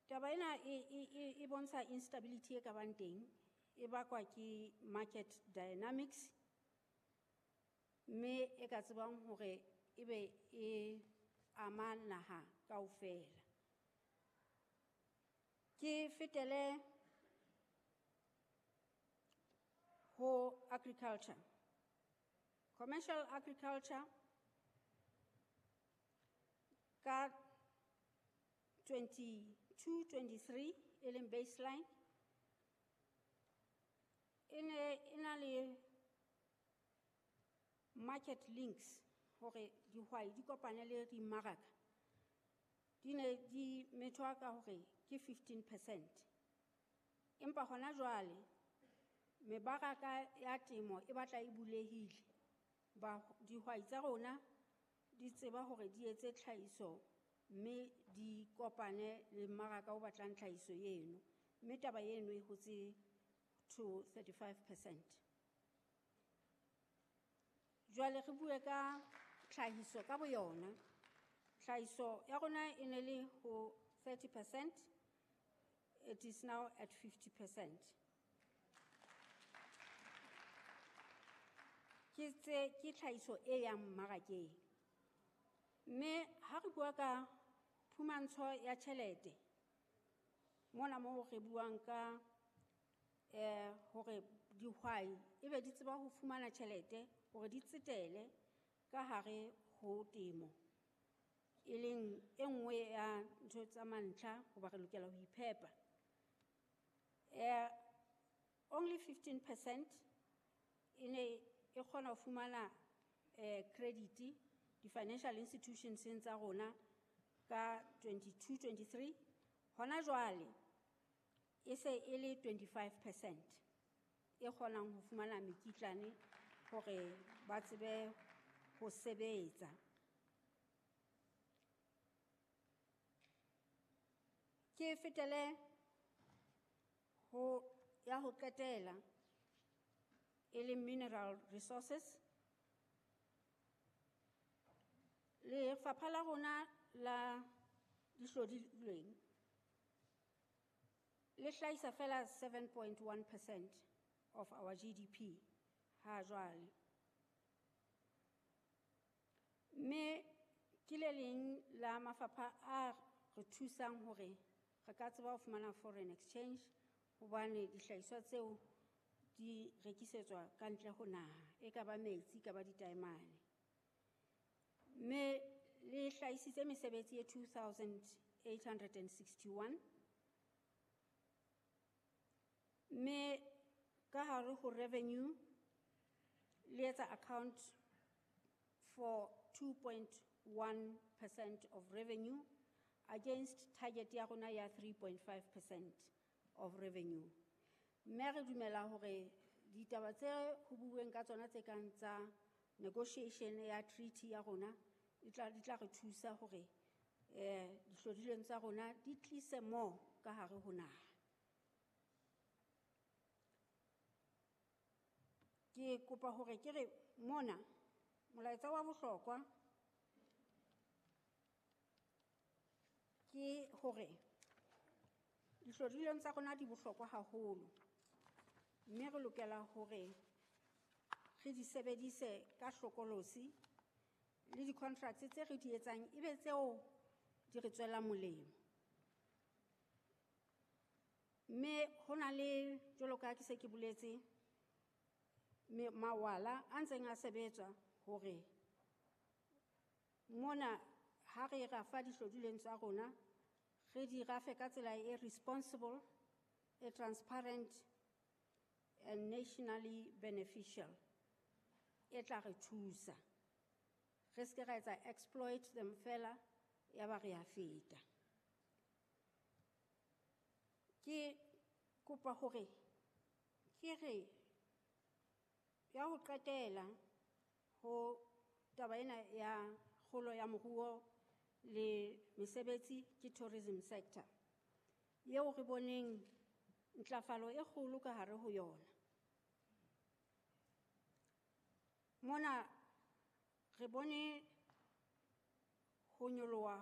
Taba ena e bontsha instability e ka bang teng, e bakwa ke market dynamics, mme e ka tsebang hore ebe e ama naha kaofela. Ke fetele ho agriculture. Commercial agriculture ka 22-23 e leng baseline e ne e na le market links hore dihwai di kopane le dimmaraka, di ne di methwa ka hore ke 15%. Empa hona jwale mebaraka ya temo e batla e bulehile. Dihwai tsa rona di tseba hore di etse tlhahiso mme di kopane le mmaraka o batlang tlhahiso eno, mme taba eno e hotse to 35%. Jwale re bue ka tlhahiso ka boyona. Tlhahiso ya rona e ne le ho 30%, it is now at 50%. Ke tse, ke tlhahiso e yang mmarakeng. Mme ha re bua ka phumantsho ya tjhelete, mona moo re buang ka hore dihwai ebe di tseba ho fumana tjhelete hore di tsetele ka hare ho temo, e leng e nngwe ya ntho tsa mantlha hoba re lokela ho iphepa. Only 15% e ne e kgona ho fumana credit di-financial institutions tsa rona ka 22-23. Hona jwale e se e le 25% e kgonang ho fumana mekitlane hore ba tsebe ho sebetsa. Ke fetele ho ya ho qetela e leng mineral resources. Lefapha la rona la dihlodilweng le hlahisa fela 7.1% of our GDP ha jwale. Mme ke le leng la mafapha a re thusang hore re ka tseba ho fumana foreign exchange hobane dihlahiswa tseo di rekisetswa ka ntle ho naha, e ka ba metsi, e ka ba ditaemane. Mme le hlahisitse mesebetsi e 2861. Mme ka hare ho revenue le etsa account for 2.1% of revenue against target ya rona ya 3.5% of revenue. Mme re dumela hore ditaba tse ho buuweng ka tsona tse kang tsa negotiation ya treaty ya rona di tla re thusa hore dihlodilweng tsa rona di tlise more ka hare ho naha. Ke kopa hore ke re mona molaetsa wa bohlokwa ke hore dihlodilweng tsa rona di bohlokwa haholo, mme re lokela hore re di sebedise ka hlokolosi le di-contracts tse re di etsang ebe tseo di re tswelang molemo. Mme ho na le, jwalo ka ha ke se ke boletse, mawala a ntseng a sebetswa hore mona ha re rafa dihlodilweng tsa rona re di rafe ka tsela e responsible, e transparent and nationally beneficial, e tla re thusa. Re se ke ra etsa exploit them fela ya ba re a feta. Ke kopa hore ke re ya ho qetela ho taba ena ya kgolo ya moruo le mesebetsi ke tourism sector, eo re boneng ntlafalo e kgolo ka hare ho yona. Mona re bone ho nyoloha